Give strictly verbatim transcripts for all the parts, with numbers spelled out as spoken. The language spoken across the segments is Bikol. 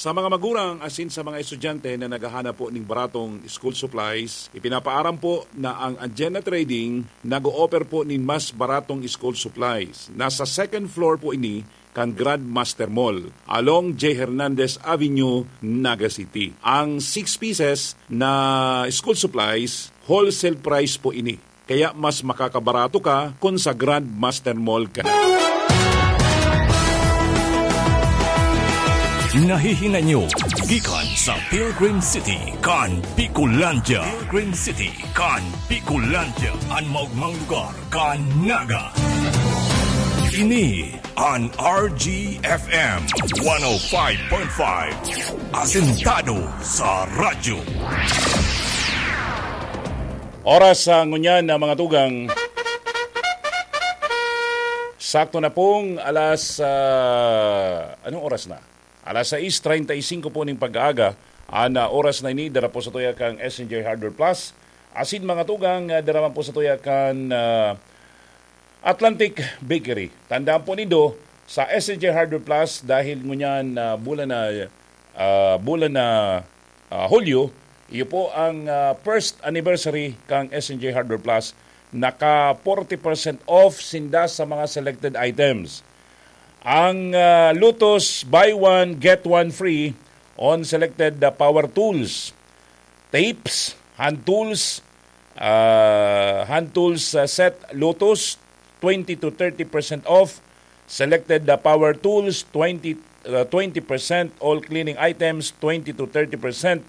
Sa mga magurang asin sa mga estudyante na naghahanap po ning baratong school supplies, ipinapaaram po na ang Anjena Trading nag-o-offer po nin mas baratong school supplies. Nasa second floor po ini kan Grandmaster Mall, along J Hernandez Avenue, Naga City. Ang six pieces na school supplies, wholesale price po ini. Kaya mas makakabarato ka kun sa Grandmaster Mall ka na. Nahihinay nyo gikan sa Pilgrim City kan Bicolandia. Pilgrim City kan Bicolandia, an maogmang lugar kan Naga. Ini an R G F M one oh five point five. Asentado sa radyo. Oras sa ngunyan na mga tugang. Sakto na pong alas, ah, anong oras na? Alas sais treinta y cinco po ning pag-aaga. An, ah, oras na ini, dara po sa tuya kang S N J Hardware Plus. Asin mga tugang, ah, dara man po sa tuya kan, ah, Atlantic Bakery. Tandaan po nindo, sa S N J Hardware Plus, dahil ngunyan, ah, bulan na, ah, bulan na, ah, Hulyo, iyo po ang, ah, first anniversary kang S N J Hardware Plus. Naka forty percent off sinda sa mga selected items. Ang, ah, Lotus, buy one, get one free on selected, ah, power tools, tapes, hand tools, ah, hand tools, ah, set, Lotus, twenty to thirty percent off. Selected, ah, power tools, twenty, ah, twenty percent. All cleaning items, twenty to thirty percent.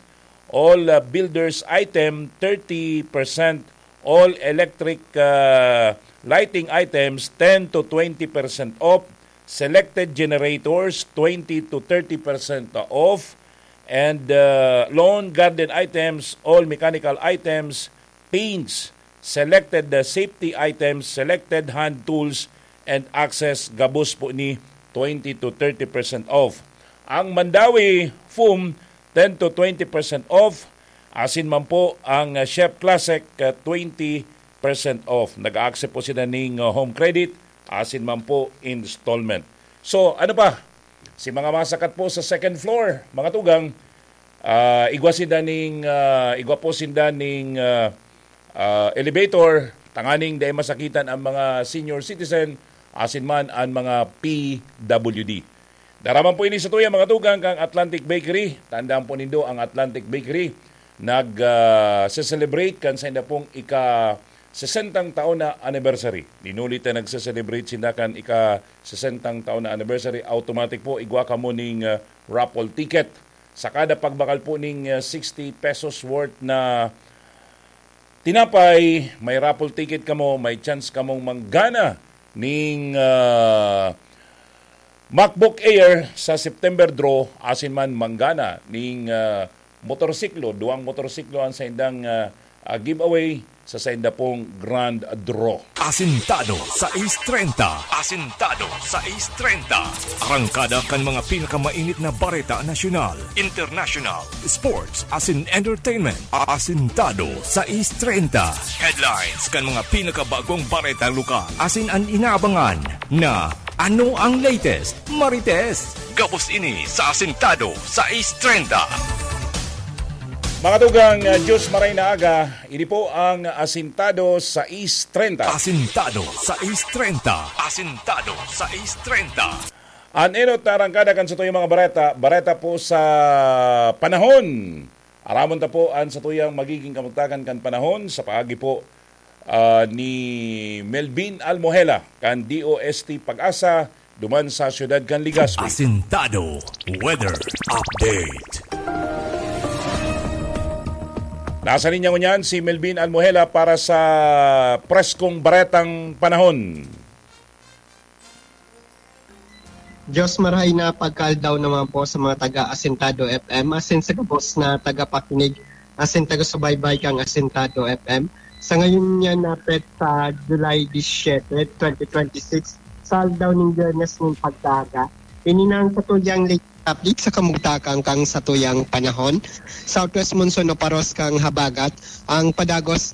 All, ah, builders item, thirty percent. All electric, ah, lighting items, ten to twenty percent off. Selected generators, twenty to thirty percent off. And, ah, lawn garden items, all mechanical items, paints, selected, ah, safety items, selected hand tools, and access, gabos po ni twenty to thirty percent off. Ang Mandawi foam, ten to twenty percent off. Asin man po ang, ah, Chef Classic, ah, twenty percent off. Nag-a-accept po sila ning, ah, home credit, asin man po installment. So, ano pa? Si mga masakat po sa second floor, mga tugang, ah, igwa sinda ning, ah, igwa po sinda ning, ah, ah, elevator, tanganing dai masakitan ang mga senior citizen, asin man an mga P W D. Dara man po ini sa tuya, mga tugang, kang Atlantic Bakery. Tandaan po nindo, ang Atlantic Bakery nag, ah, se-celebrate kan sainda pong ika-sesentang taon na anniversary. Dinuli ta nagse-celebrate sinda kan ika-sesentang taon na anniversary, automatic po, igwa kamo ning, ah, raffle ticket. Sa kada pagbakal po ning, ah, sixty pesos worth na tinapay, may raffle ticket kamo, may chance kamong manggana ning, ah, MacBook Air sa September draw, asin man manggana ning, ah, motorsiklo, duwang motorsiklo ang saindang, ah, ah, giveaway sa sainda pong grand draw. Asintado sais treinta. Asintado sais treinta. Arangkada kan mga pinakamainit na bareta nasyonal, international, sports, asin entertainment. Asintado sais treinta. Headlines kan mga pinakabagong bareta lokal. Asin an inaabangan na ano ang latest, Marites? Gabos ini sa Asintado sais treinta. Mga tugang, ah, Diyos maray na aga, ini po ang Asintado sais treinta. Asintado sais treinta. Asintado sais treinta. An enot na arangkada kan satuyang mga bareta, bareta po sa panahon. Aramon ta po an satuyang magiging kamugtakan kan panahon sa paagi po, ah, ni Melvin Almohela kan D O S T Pag-asa, duman sa siyudad kan Legazpi. Asintado Weather Update. Nasa linya ngunyan si Melvin Almohela para sa preskong baretang panahon. Diyos marahay na pagkaaldaw naman po sa mga taga Asintado F M, asin sa gabos na tagapakinig, asin taga-subaybay kang Asintado F M. Sa ngayon niya na petsa, July diecisiete, twenty twenty-six, sa aldaw ning Biyernes ning pagkaaga. Ini na ang satuyang latest update sa kamugtakan kang satuyang panahon. Southwest monsoon o paros kang habagat ang padagos